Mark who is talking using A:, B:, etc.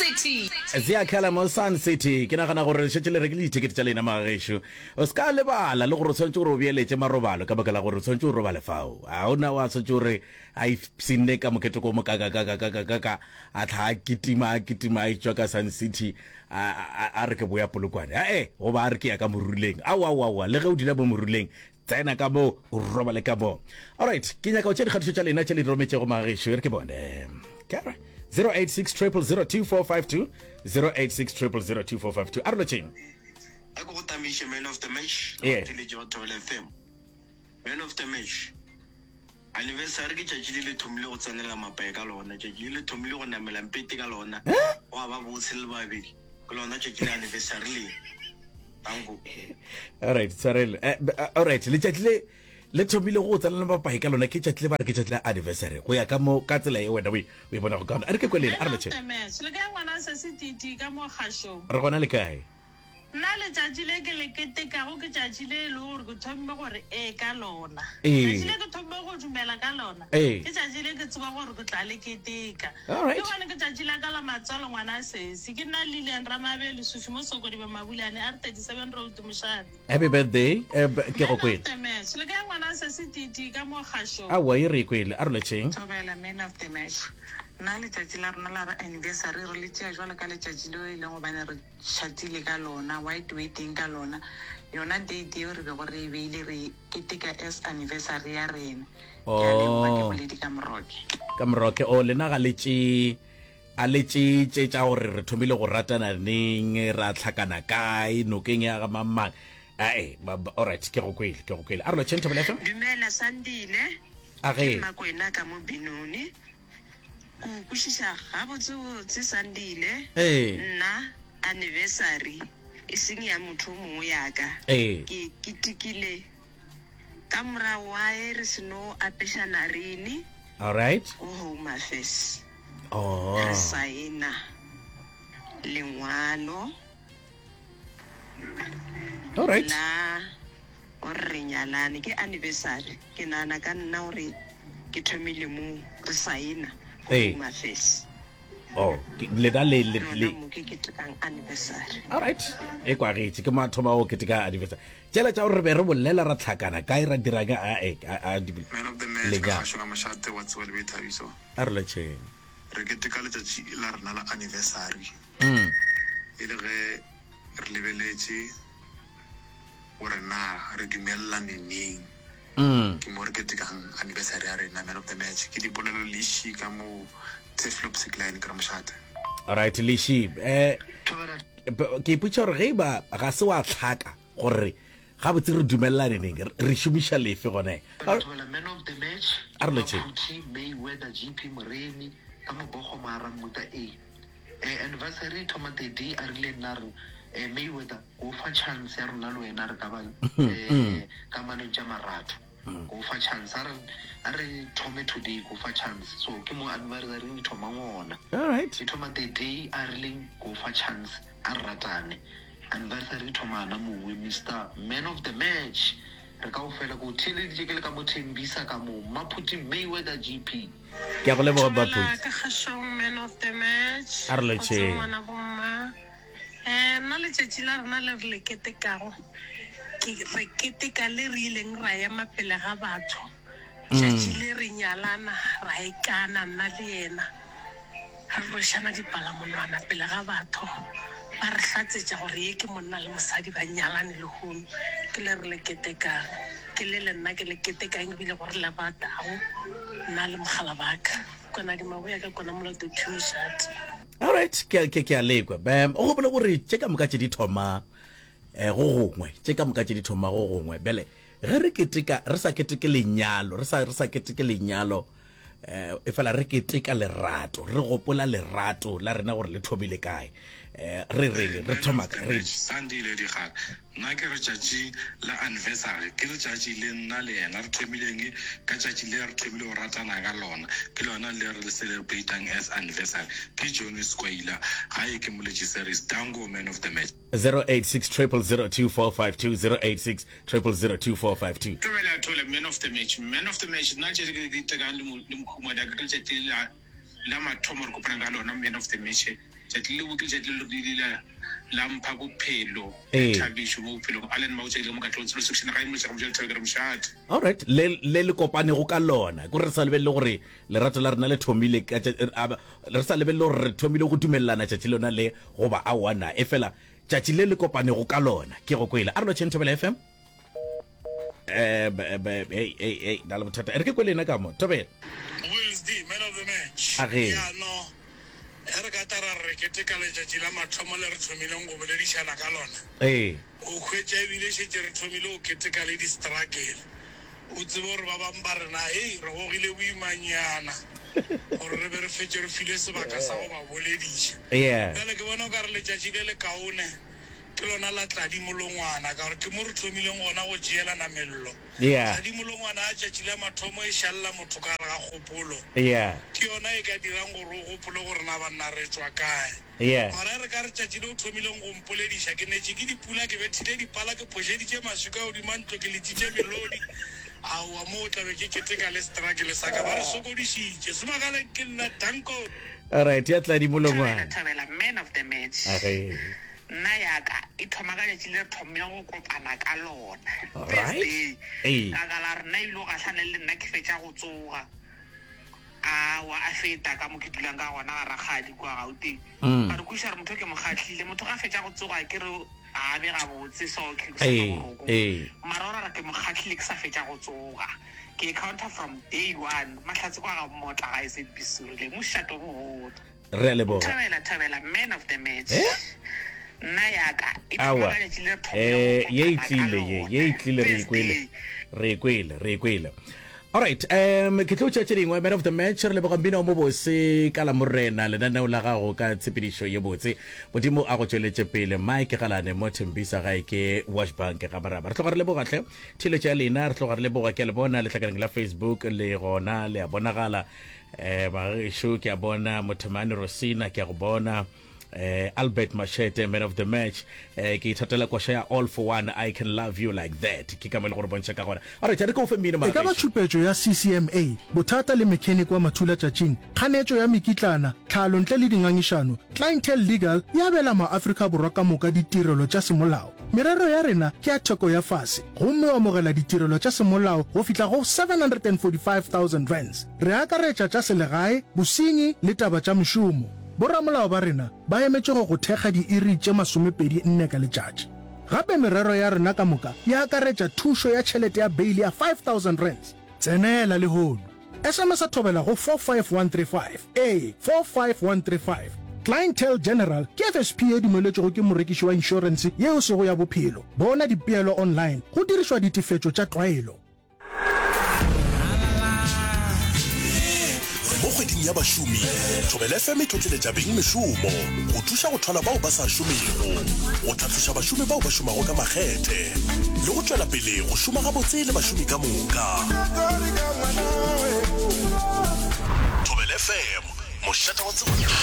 A: City.
B: Ziakhala mo Sun City. Ke nagana gore le šetše le rekile dithekete tša lena magagešo. O se ka lebala le gore o swanetše gore o beeletše marobalo ka baka la gore o swanetše o robale fao. A o na wa swanetše gore a ipshinne ka moketeko o mokakakakakakaka a tlha a kitima a kitima a etšwa ka Sun City a, a, a re ke boya Polokwane. Ae, goba a re ke ya ka Moruleng. Aowa, aowa, aowa, le ge o dula mo Moruleng, Tsena ka mo, o robale ka mo. Alright, ke nyaka go tšea dikgatišo tša lena tše le di rometšego magagešo, e re ke bone. Ke 086 0002452 086 0002452. A re lotšheng.
C: A ke go tamiše man of the match le
B: Yeah.
C: batheeletši ba Thobela FM. Man of the match. Anniversary ke tšatši le le thomile go tsenela mapae ka lona, tšatši le le thomile go namela mpete ka lona, gwa ba bose le babedi. Ke lona tšatši la anniversary le. Danko.
B: Alright, tshwarelo. Eh, eh, alright, letšatši le le thomile go tsenela mapae ka lona ke tšatši le ba re ke tšatši la anniversary go ya ka mo ka tsela ye wena o e o e bonago ka gona. A re ke kwelele, a re lotšheng.
D: Match. Le kae ngwana se se titi ka mo kgašong?
B: Re gona le kae?
D: Nna letšatši le ke le ketekago ke tšatši le e lego gore ke thomme gore ee ka lona.
B: Ee.
D: Tšatši le ke thomme go dumela ka lona
B: Ee.
D: ke tšatši le ke tseba gore ke tla le keteka.
B: Alright.
D: Ke gone ke tšatši la ka la matswalo ngwana sesi. Ke nna Lilian Ramabe Lesufi mo Sokodibe Mabulane R37 Road Mošate.
B: Happy birthday. Eh, b- ke go
D: Man of
B: kwele.
D: the match. Le kae ngwana sesi Titi ka mo kgašong?
B: Aowa e re e kwele. A re lotšheng.
E: Thobela man of the match. Nna letšatši la rena la anniversary re le tšea jwalo ka letšatši leo e leng gobane re tšhatile ka lona, white wedding ka lona, yona date yeo re bego re e beile re keteka as anniversary ya rena. Ke a leboga, ke
B: Oh.
E: Boledi ka Moroke.
B: Ka Moroke, oh lena ga le tšee a le tšee tše tša gore re thomile go ratana neng, ra hlakana kae, nokeng ya ga mang mang. Ae, ba- ba- alright, ke go kwele, ke go kwele. A re lotšheng Thobela FM.
F: Dumela Sandile,
B: A
F: ke
B: ge.
F: Mmakwena ka mo Benoni. Ke o kwešiša gabotsebotse Sandile.
B: Ee.
F: Nna anniversary e seng ya motho o mongwe ya ka.
B: Ee.
F: Ke ketekile ka morago wa ge re seno apešana rene
B: Alright.
F: ko Home Affairs.
B: Oh.
F: Re saena lengwalo
B: Alright.
F: la gore re nyalane. Ke anniversary. Ke nagana ka nna gore ke thomile mo re saena go
B: Ee.
F: Home Affairs.
B: Oh, ke- lena le le
F: Lona
B: le
F: mo ke ketekang anniversary.
B: Alright. E kwagetše ke mathomo a go keteka anniversary. Tšela tša gore re be re bolela ra tlhakana kae ra dira ka a e a a di
G: Man of the match ka
B: lenyalo.
G: kgašo ka mošate wa tseba le boithabiso.
B: A re lotšheng.
G: Re keteka letšatši la rena la anniversary
B: Mm.
G: e le ge re lebeletše gore na re dumelelane neng.
B: Mm.
G: Ke mo re ketekang anniversary ya rena. Man of the match ke dipolelo Lishi ka mo Turfloop Sekline ke re mošate.
B: Alright Lishi, eh ke ipotša gore ge e ba ga se wa hlaka gore gabotse re dumelelane neng, re šomiša lefe gone.
H: Thobela man of the match
B: A re lotšheng.
H: Maphuthi Mayweather GP Moremi ka Mobogo Mara Mmuta A. Eh anniversary e thoma the day a rile nna re eh Mayweather ko fa chance ya rona le wena re ka ba eh kamanong tša marato ko fa chance a re a re thome today ko fa chance so ke mo anniversary e thomang gona
B: Alright.
H: e thoma the day a rileng ko fa chance a re ratane anniversary e thoma gana mowe Mister Man of the Match re kaofela ko theeleditše ke le ka mo Thembisa ka mo Maphuti Mayweather GP.
B: Ke a go leboga
D: Thobela
B: Baphuti.
D: ka kgašong man of the match.
B: A re
D: Go tswa
B: lotšheng.
D: ngwana bomma. Eh nna letšatši la rena le re le ketekago ke re keteka le re ileng ra ema pele ga batho. Tšatši le re nyalana ra ikana nna le yena. Re rwešana dipalamonwana pele ga batho, ba re hlatsetša gore ye ke monna le mosadi ba nyalane lehono. Ke le re le ketekang. Ke le le nna ke le ketekang ebile go re le ratago, nna le mogala ba ka. Kwana Dimaboya ka kwana Molato Two Mošate.
B: Alright, ke ke ke a lekwa. Bam, o gopole gore tše ka moka tše di thoma eh go gongwe, tše ka moka tše di thoma go gongwe. Bjale ge re keteka re sa keteke lenyalo, re sa re sa keteke lenyalo eh efela re keteka lerato, re gopola lerato la rena gore le thomile kae. Eh re reng re thoma ka re
G: Sandile Dikgale, nna ke re tšatši la anniversary ke letšatši le nna le yena re thomileng ka tšatši le re thomile go ratana ka lona, ke lona le re le celebratang as anniversary. Ke Johnny Skwaila gae ke Moletši Series, Danko man of the match.
B: 086 000 2452 086 000 2452.
I: Thobela Thole, Man of the match, Man of the match, nna tše ke di tekang le le mokhumadi ka ke letšatši la la mathomo re kopana ka lona, Man of the match. Tšatši leo ke letšatši le le ile la mpha bophelo
B: Ee.
I: le thabišo mo bophelong. Allen Mautša ke le mo Katlehong Tsholo Section gae Mološa ga Moša Lethabo ke re mošate.
B: Alright, le le le kopanego ka lona. Ke gore re sa lebelele gore lerato la rena le thomile ka tša, a, re sa lebelele gore re thomile go dumelelana tšatši lona le goba aowa na. Efela tšatši le le kopanego ka lona ke go kwele. A re lotšheng Thobela FM. Eh, be, be, hey, hey, hey, na le bothata. E re ke kwele ena ka mo. Thobela.
A: Wills D, man of the match.
B: A ge.
A: Ya no, ge re ka tla ra re re keteka letšatši la mathomo le re thomileng go boledišana ka lona,
B: Ee.
A: o hwetša ebile šetše re thomile go keteka le di-struggle. O tsebe gore ba bangwe ba rena, hei, re gogile boimanyana gore re be re fetše re filwe sebaka sa go ba bolediša.
B: Yeah.
A: Bjale ke bona o ka re letšatši le lekaone Ke lona la Tladi Molongwana ka gore ke mo re thomileng gona go tšeelana mello.
B: Yeah.
A: Tladi Molongwana ya tšatši la mathomo e šalela motho ka gare ga kgopolo.
B: Yeah.
A: Ke yona e ka dirang gore o gopole gore na banna re tšwa kae.
B: Yeah.
A: Mara e re ka re tšatši le o thomileng go mpolediša, ke netše ke dipula, ke bethile dipala, ke phošeditše maswika godima ntlo, ke letšitše melodi. Aowa, mo o tla be ke keteka le struggle sa ka. Ba re sokodišitše. Semagaleng ke nna, danko.
B: Alright, ya Tladi Molongwana.
E: Thabela, thabela, man of the match.
B: Age.
E: Nna ya ka e thoma ka letšatši le re thomileng go kopana ka lona. First
B: Alright.
E: day,
B: Ee.
E: ka ka la re nna ebile o gahlane le nna ke fetša go tsoga. Aowa a feta ka mo ke dulang ka gona ga rakgadi kua Gauteng.
B: Mm.
E: Ka re kwešiša gore motho ke mo kgahlile. Motho ga fetša go tsoga ke re ga a be gabotse so ke sa
B: Ee,
E: boroko.
B: ee.
E: Mara o ra re ke mo kgahlile ke sa fetša go tsoga. Ke encounter from day one. Mahlatse kwa ga Mmotla gae Sebisurile. Mošate o mogolo.
B: Re a leboga.
E: Thobela thobela man of the match.
B: Eh?
E: Nna ya ka e thoma
B: Aowa.
E: ka letšatši le re thomile
B: Eh,
E: go
B: ye e
E: kopana ka
B: tlile ye,
E: lona.
B: ye e tlile re e
E: First
B: kwele.
E: day.
B: Re e kwele, re e kwele. Alright, um ke tlo tšea tše dingwe man of the match re leboga mmino o mobose ka la morena lenaneo la gago ka tshepedišo ye botse modimo a go tšweletše pele mike galane mo thembisa gae ke washbank ga maraba re tloga re leboga hle theeletšo ya lena re tloga re leboga ke a le bona letlakaleng la facebook le gona le a bonagala Eh, bagešo ke a bona Mothemane Rosina ke a go bona eh, Albert Machete man of the match eh, ke ithatela koša ya all for one I can love you like that ke ka mo e le gore bontšha ka gona alright re ke o fe mmino
J: E ka ba
B: magagešu
J: tšhupetšo ya CCMA, bothata le mechanic wa mathulatšatšing, kganetšo ya mekitlana, tlhalo ntle le dingangišano, Clientele Legal e abela maAfrika Borwa ka moka ditirelo tša semolao. Merero ya rena ke ya theko ya fase gomme o amogela ditirelo tša semolao go fihla go R745,000. Re akaretša tša selegae, bosenyi le taba tša mešomo. Boramolao ba rena ba emetše go go thekga diiri tše masomepedi nne ka letšatši. Gape merero ya rena ka moka e akaretša thušo ya tšhelete ya beili ya R5000. Tsenela lehono. SMS-a Thobela go 45135. Ee, 45135. Clientele General ke FSP ye dumeletšwego ke morekiši wa inšorense ye e sego ya bophelo. Bona dipeelo online go dirišwa ditefetšo tša tlwaelo.
K: Mo kgweding ya bašomi, Thobela FM e tlotleletša beng mešomo, go thuša go thwala bao ba sa šomego, go tlhatloša bašomi bao ba šomago ka makgethe, le go tšwela pele go šoma gabotse le bašomi ka moka. Thobela FM, mošate wa tsebo.